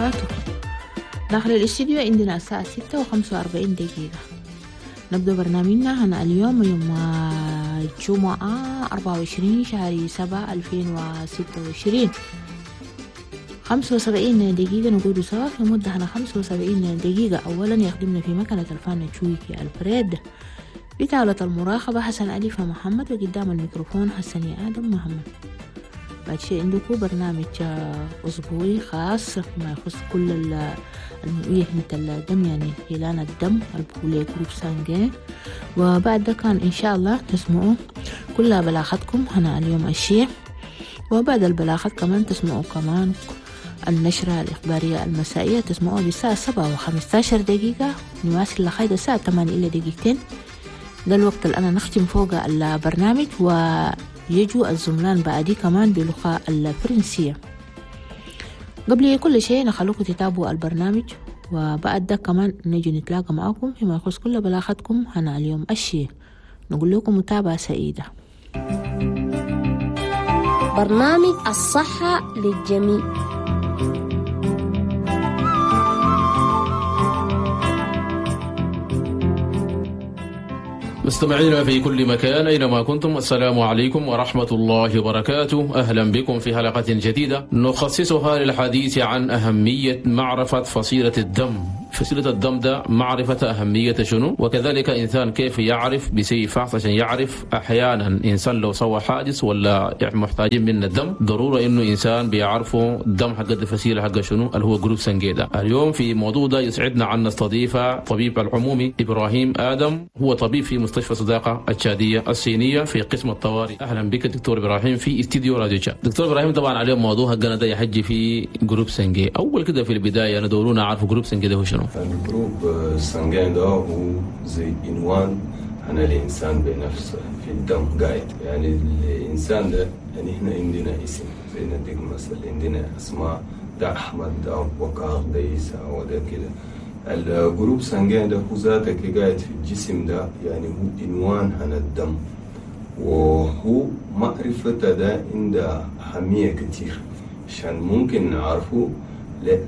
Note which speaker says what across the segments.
Speaker 1: وبركاته. داخل الاستديو عندنا الساعة 6:45. نبدأ برنامجنا هنا اليوم يوم الجمعة 24 شهر 7 2026. 75 دقيقة نقول سوا في مدة هنا 75 دقيقة. أولا يخدمنا في مكنة الفان تشويكي الفريد، بطاولة المراقبة حسن أليفة محمد، وقدام الميكروفون حسن آدم محمد. بعد شيء عندكم برنامج أسبوعي خاص فيما يخص كل مهنة الدم، يعني هلال الدم البولي groupe sanguin. وبعد ده كان إن شاء الله تسمعوا كل بلاغتكم هنا اليوم الشيء، وبعد البلاغات كمان تسمعوا كمان النشرة الإخبارية المسائية، تسمعوها بالساعة 7:15. نواصل لغاية الساعة 7:58. ده الوقت اللي أنا نختم فوق البرنامج، ويجوا الزملان بعدي كمان بلغة الفرنسية. قبل كل شيء نخلوكم تتابعوا البرنامج، وبعد ده كمان نجي نتلاقى معكم فيما يخص كل بلاغتكم هنا اليوم الشيء. نقول لكم متابعة سعيدة.
Speaker 2: برنامج الصحة للجميع.
Speaker 3: مستمعينا في كل مكان أينما كنتم، السلام عليكم ورحمة الله وبركاته. أهلا بكم في حلقة جديدة نخصصها للحديث عن أهمية معرفة فصيلة الدم. فصيلة الدم ده معرفة أهمية شنو، وكذلك إنسان كيف يعرف بسي فحص عشان يعرف. أحيانا إنسان لو سوى حادث ولا محتاجين من الدم، ضرورة إنه إنسان بيعرفه الدم حق الفصيلة حق شنو اللي هو groupe sanguin ده. اليوم في موضوع ده يسعدنا أن نستضيف طبيب العمومي إبراهيم آدم، هو طبيب في مستشفى صداقة التشادية الصينية في قسم الطوارئ. أهلا بك دكتور إبراهيم في استديو راديو تشاد. دكتور إبراهيم، طبعا اليوم موضوع حقنا ده يحجي في groupe sanguin. أول كده في البداية ندورونا عارف groupe sanguin ده هو شنو؟
Speaker 4: ال groupe sanguin ده هو زي عنوان عن الإنسان بنفسه في الدم قاعد. يعني الإنسان ده يعني إحنا عندنا اسم، زي نديك مثلا عندنا أسماء، ده أحمد، ده أبو بكر، ده عيسى، وده كده. ال groupe sanguin ده هو ذاتك قاعد في الجسم ده، يعني هو عنوان عن الدم، وهو معرفة ده عنده أهمية كتير عشان ممكن نعرفه. لا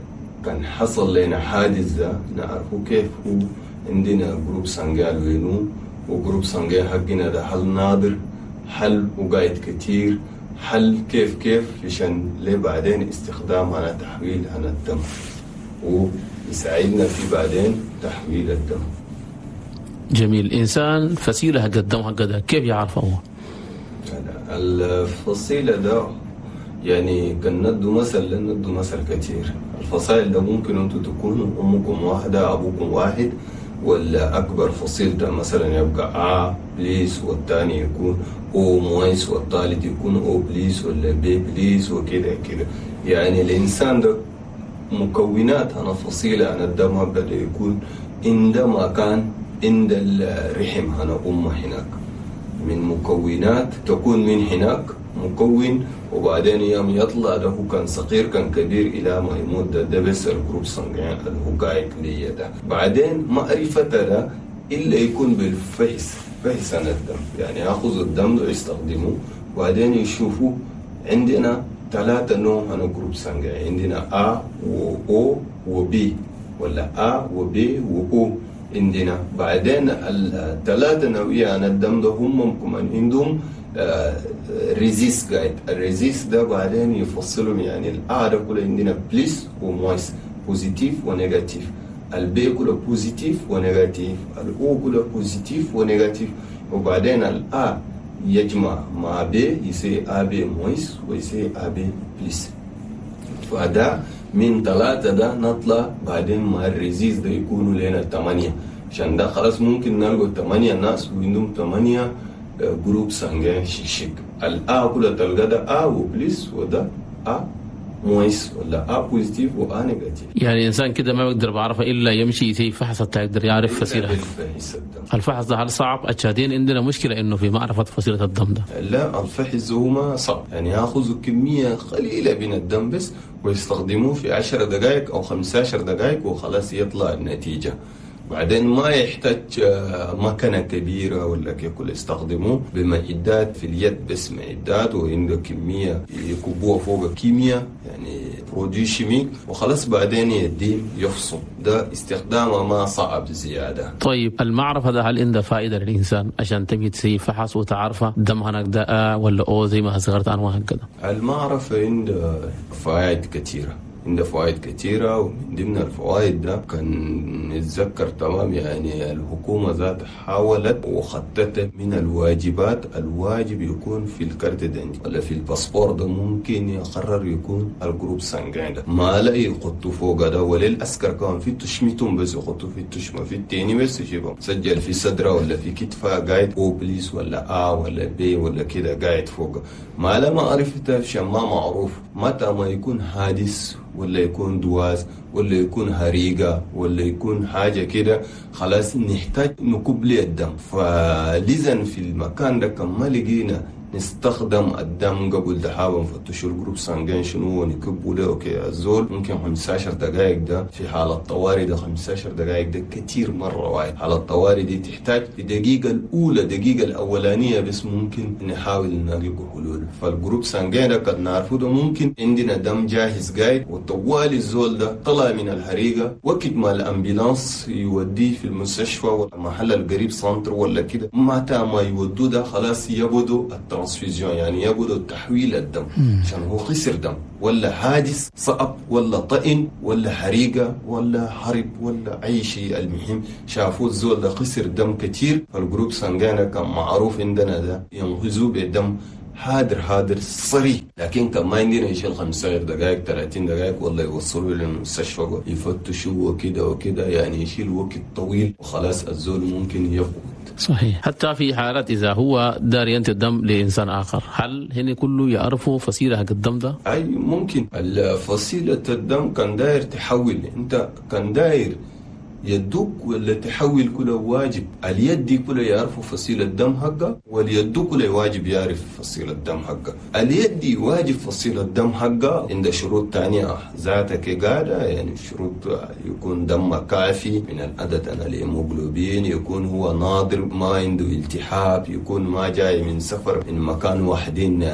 Speaker 4: كان حصل لنا حادث ده نعرفه كيف هو عندنا groupe sanguin وينو، و groupe sanguin حقنا ده هل نادر، هل وقايد كتير، هل كيف عشان ليه بعدين استخدام على تحويل عن الدم، ويساعدنا في بعدين تحويل الدم.
Speaker 3: جميل. إنسان فصيلة حق الدم حق ده كيف يعرفه هو؟
Speaker 4: الفصيلة ده يعني كان ندو مثل، ندو مثل كتير. الفصائل ده ممكن انتوا تكونوا امكم واحدة ابوكم واحد، ولا اكبر فصيل ده مثلا يبقى A plus، والثاني يكون O moins، والثالث يكون O plus ولا B plus وكده كده. يعني الانسان ده مكونات انا فصيلة انا الدم بدا يكون عندما كان عند الرحم انا امه هناك، من مكونات تكون من هناك مكون، وبعدين يوم يطلع ده كان صغير كان كبير الى ما يموت. ده بس ال groupe sanguin اللي هو قاعد ليا ده. بعدين معرفة ده الا يكون بالفحص، فحص عن الدم، يعني ياخذ الدم ده يستخدمه وبعدين يشوفوا. عندنا ثلاثة نوع عن groupe sanguin، عندنا A و O و B، ولا A و B و O عندنا. بعدين الثلاثة نوعية عن الدم ده هم كمان عندهم rhésus قاعد. ال rhésus ده بعدين يفصلهم، يعني ال A ده كله عندنا plus و moins، positif و négatif، ال B كله positif و négatif، ال O كله positif و négatif. وبعدين ال A يجمع مع B يصير AB moins ويصير AB plus. فده من ثلاثة ده نطلع بعدين مع ال rhésus ده يكونوا لنا 8، عشان ده خلاص ممكن نلقوا 8 ناس وعندهم 8 groupe sanguin شيشيك. ال A كله تلقى ده A و plus، وده A moins، ولا A positif و A négatif.
Speaker 3: يعني إنسان كده ما بيقدر بعرفه إلا يمشي يسوي فحص حتى يقدر يعرف فصيلة. الفحص ده هل صعب؟ التشادين عندنا مشكلة إنه في معرفة فصيلة الدم ده.
Speaker 4: لا، الفحص هو ما صعب، يعني يأخذوا كمية قليلة من الدم بس ويستخدموه في 10 دقائق أو 15 دقائق وخلاص يطلع النتيجة. بعدين ما يحتاج مكنة كبيرة ولا كيكل، يستخدموه بمعدات في اليد بس، معدات وعنده كمية يكبوها فوق كيمياء يعني produit chimique وخلاص، بعدين يدين يفصل. ده استخدامه ما صعب زيادة.
Speaker 3: طيب المعرفة ده هل عنده فائدة للإنسان عشان تمشي تسوي فحص وتعرفه دم هناك ده ولا أو زي ما صغرت أنواع هكذا؟
Speaker 4: المعرفة عنده فوائد كثيرة، عنده فوائد كثيرة، ومن ضمن الفوائد ده كان نتذكر تمام يعني الحكومة ذات حاولت وخططت من الواجبات، الواجب يكون في ال carte d'identité ولا في الباسبور ده ممكن يقرر يكون ال groupe sanguin ده، ما لا يحطوا فوق ده، ولا الأسكر كان في تشمتهم بس يحطوا في التشمة في التاني بس يجيبهم سجل في صدره ولا في كتفه قاعد O plus ولا A ولا B ولا كده قاعد فوق. ما لا ما عرفت عشان ما معروف متى ما يكون حادث ولا يكون دواس ولا يكون هريقة ولا يكون حاجة كده، خلاص نحتاج نكب لي الدم. فلذا في المكان ده كما لقينا نستخدم الدم قبل دحابا نفتشوا ال groupe sanguin شنو ونكبوا له. okay الزول ممكن 15 دقائق ده في حالة طوارئ، ده 15 دقائق ده كتير مرة واحد. حالة الطوارئ دي تحتاج في الدقيقة الأولى، دقيقة الأولانية بس ممكن نحاول نلقى حلول. فال groupe sanguin ده قد نعرفه ده ممكن عندنا دم جاهز قاعد، وطوالي الزول ده طلع من الحريقة وقت ما ال ambulance يوديه في المستشفى ولا محل القريب centre ولا كده، متى ما يودوه ده خلاص يبدو ال transfusion، يعني يبدو تحويل الدم عشان هو خسر دم ولا حادث صعب ولا طئن ولا حريقة ولا حرب ولا أي شيء. المهم شافوا الزول ده خسر دم كتير، فال groupe sanguin كان معروف عندنا ده ينقذوه بدم حاضر حاضر صريح. لكن كان ما عندنا يشيل 15 دقائق 30 دقائق والله يوصلوا للمستشفى يفتشوا وكده وكده، يعني يشيل وقت طويل وخلاص الزول ممكن يفقد.
Speaker 3: صحيح. حتى في حالات إذا هو دار ينتج الدم لإنسان آخر، هل هنا كله يعرفوا فصيلة حق الدم ده؟
Speaker 4: أي ممكن فصيلة الدم كان داير تحول، أنت كان داير يدوك ولا تحول كله واجب، اليد كله يعرفوا فصيلة الدم حقه، واليد كله واجب يعرف فصيلة الدم حقه. اليد واجب فصيلة الدم حقه عند شروط تانية ذاتك قاعدة، يعني شروط يكون دم كافي من العدد أنا الهيموغلوبين، يكون هو نادر ما عنده التهاب، يكون ما جاي من سفر من مكان واحدين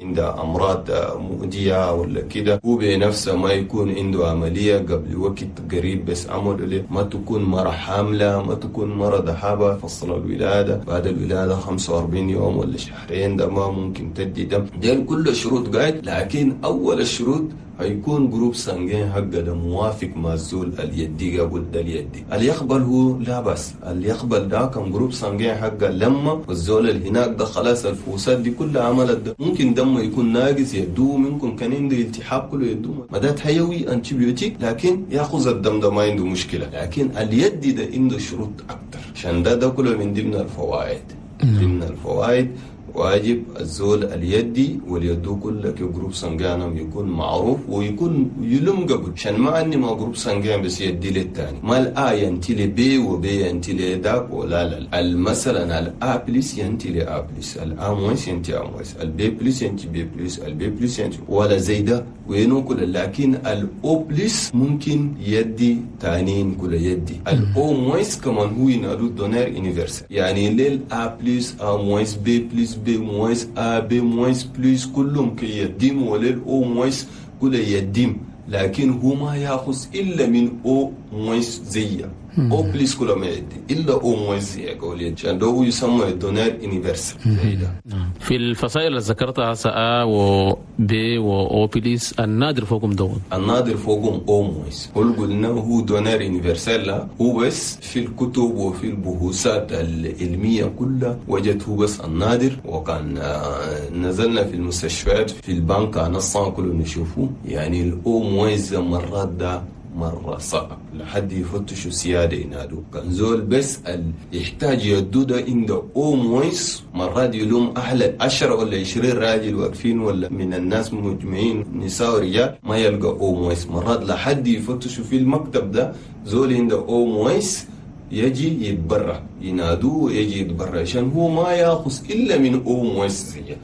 Speaker 4: عنده أمراض مؤذية ولا كده، هو بنفسه ما يكون عنده عملية قبل وقت قريب بس عمل له، ما تكون مرة حاملة، ما تكون مرة دحابة فصل الولادة، بعد الولادة 45 يوم ولا شهرين ده ما ممكن تدي دم. دي كل شروط قاعد، لكن أول الشروط هيكون groupe sanguin حقه ده موافق مع الزول اليدي قبل ده اليدي اللي يقبل هو لا بس اللي يقبل ده كان groupe sanguin حقه لما والزول اللي هناك ده خلاص الفوسات دي كلها عملت ده ممكن دمه يكون ناقص يدوه، ممكن كان عنده التهاب كله يدوه مدات حيوي antibiotique، لكن ياخذ الدم ده ما عنده مشكله. لكن اليدي ده عنده شروط اكتر، عشان ده كله من ضمن الفوائد. ضمن الفوائد واجب الزول اليدي واليدو كلك groupe sanguin يكون معروف ويكون يلم قبل، عشان ما اني ما groupe sanguin بس يدي للثاني، ما ال A ينتي ل B و B ينتي لداك ولا لا. مثلا ال A plus ينتي ل A plus، ال A moins ينتي A moins، ال B plus ينتي B plus، ال B plus ينتي ولا زي ده وينو كل. لكن ال O plus ممكن يدي تانين كل يدي، ال O moins كمان هو ينادو donneur universel، يعني لل A plus A moins B plus B moins A B moins plus كلهم كي يديم، ولل O moins كله يديم، لكن هو ما ياخذ إلا من O moins زيه، O plus كله ما يدي إلا O moins زيه قولي، عشان ده هو يسمى ال donneur universel.
Speaker 3: في الفصائل اللي ذكرتها A و B و O plus، النادر فوقهم دون،
Speaker 4: النادر فوقهم O moins، هو قلنا هو donneur universel، لا هو بس في الكتب وفي البحوثات العلمية كلها وجدته بس النادر. وكان نزلنا في المستشفيات في البنك نصا كله نشوفه، يعني ال O moins مرات ده مرة صعب لحد يفتشوا سيادة ينادوا كان زول بس يحتاج يدو ده عنده O moins، مرات يلوم أهل 10 ولا 20 راجل واقفين ولا من الناس مجمعين نساء ورجال ما يلقى O moins، مرات لحد يفتشوا في المكتب ده زول عنده O moins يجي يتبرع، ينادوه يجي يتبرع، عشان هو ما ياخذ إلا من O moins زيه.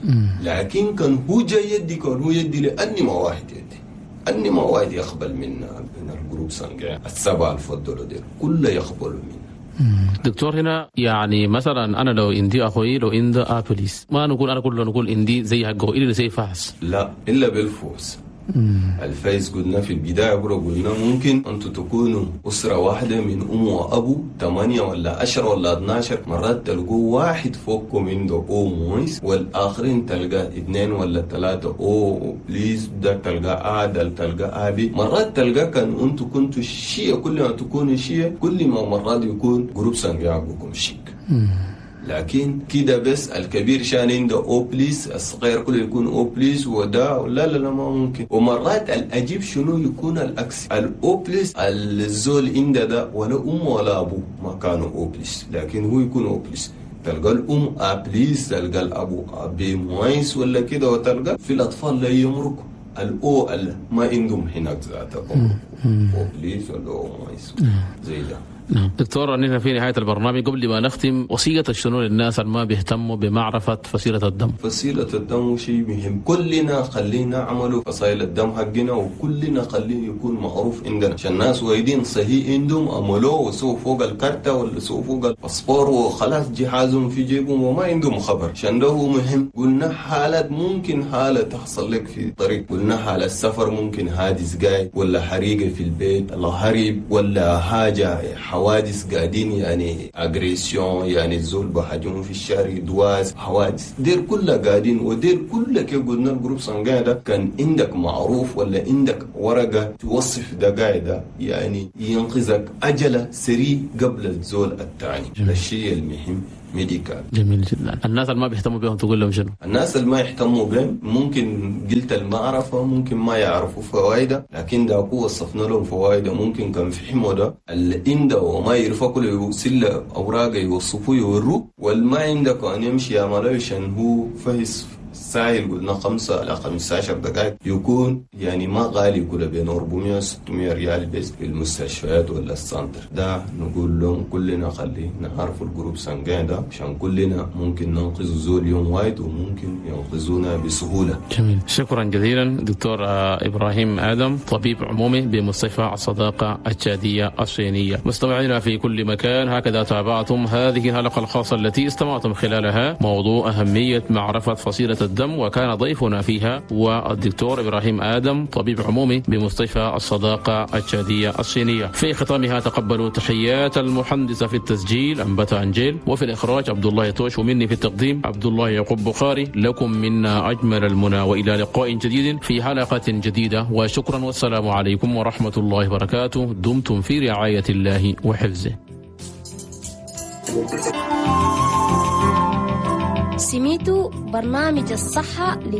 Speaker 4: لكن كان هو جاي يدي، كان هو يدي لأني ما واحد يدي، أني ما واحد يقبل منا من ال groupe sanguin السبعة الفضلوا ديل كله يقبلوا منا.
Speaker 3: دكتور هنا يعني مثلا أنا لو عندي أخوي لو عنده A plus ما نقول أنا كله نقول عندي زي حقه إلا زي فحص،
Speaker 4: لا إلا بالفحص. الفايز قلنا في البداية قلنا ممكن أنتوا تكونوا أسرة واحدة من أم وأبو 8 ولا 10 ولا 12، مرات تلقوا واحد فوقكم عنده O moins والآخرين تلقى 2 ولا 3 O plus، ده تلقى A، ده تلقى AB. مرات تلقى كان أنتوا كنتوا شيء، كل ما تكونوا شيء كل ما مرات يكون groupe sanguin حقكم شيك. لكن كده بس الكبير شان عنده O plus، الصغير كله يكون O plus، وده لا لا لا ما ممكن. ومرات الأجيب شنو يكون العكس، ال O plus الزول عنده ده ولا أم ولا أبو ما كانوا O plus، لكن هو يكون O plus. تلقى الأم A plus، تلقى الأبو B moins ولا كده، وتلقى في الأطفال لا يمرك ال O ما عندهم هناك ذاتهم O plus ولا O moins زي ده.
Speaker 3: نعم دكتور، نحن في نهاية البرنامج قبل ما نختم وصية شنو للناس اللي ما بيهتموا بمعرفة فصيلة الدم؟
Speaker 4: فصيلة الدم شيء مهم، كلنا خلينا نعملوا فصائل الدم حقنا، وكلنا خليه يكون معروف عندنا عشان الناس وايدين صحيح عندهم عملوه وسووا فوق الكارتة ولا سووا فوق الباسبور وخلاص جهازهم في جيبهم وما عندهم خبر، عشان ده هو مهم. قلنا حالات ممكن حالة تحصل لك في الطريق، قلنا حالة السفر ممكن حادث جاي ولا حريقة في البيت الله هرب ولا حاجة حوادث قاعدين يعني agression يعني الزول بهاجموا في الشارع دواز حوادث دير كلها قاعدين، ودير كلها كي قلنا ال groupe sanguin ده كان عندك معروف ولا عندك ورقة توصف ده قاعدة يعني ينقذك أجله سريع قبل الزول الثاني. الشيء المهم médical.
Speaker 3: جميل جدا. الناس اللي ما بيهتموا بهم تقول لهم شنو؟
Speaker 4: الناس اللي ما يهتموا بهم ممكن قلت المعرفة، ممكن ما يعرفوا فوائده، لكن ده وصفنا لهم فوائده. ممكن كان فهموا ده اللي عنده وما يعرفوا كله يسل أوراقه يوصفوه يوروه، والما عندك أن يمشي يعمله عشان هو فهس سايل قلنا 5 إلى 15 دقائق يكون يعني ما غالي كله بين 400 600 ريال بس في المستشفيات ولا ال centre ده. نقول لهم كلنا خلي نعرف ال groupe sanguin ده عشان كلنا ممكن ننقذ زول يوم واحد وممكن ينقذونا بسهولة.
Speaker 3: جميل، شكرا جزيلا دكتور إبراهيم آدم، طبيب عمومي بمستشفى الصداقة التشادية الصينية. مستمعينا في كل مكان، هكذا تابعتم هذه الحلقة الخاصة التي استمعتم خلالها موضوع أهمية معرفة فصيلة الدم، وكان ضيفنا فيها هو الدكتور إبراهيم آدم، طبيب عمومي بمستشفى الصداقة التشادية الصينية. في ختامها تقبلوا تحيات المهندسة في التسجيل أنبتا أنجيل، وفي الإخراج عبد الله توش، ومني في التقديم عبد الله يعقوب بخاري. لكم منا أجمل المنى، وإلى لقاء جديد في حلقة جديدة، وشكرا والسلام عليكم ورحمة الله وبركاته. دمتم في رعاية الله وحفظه.
Speaker 2: سميتو برنامج الصحة.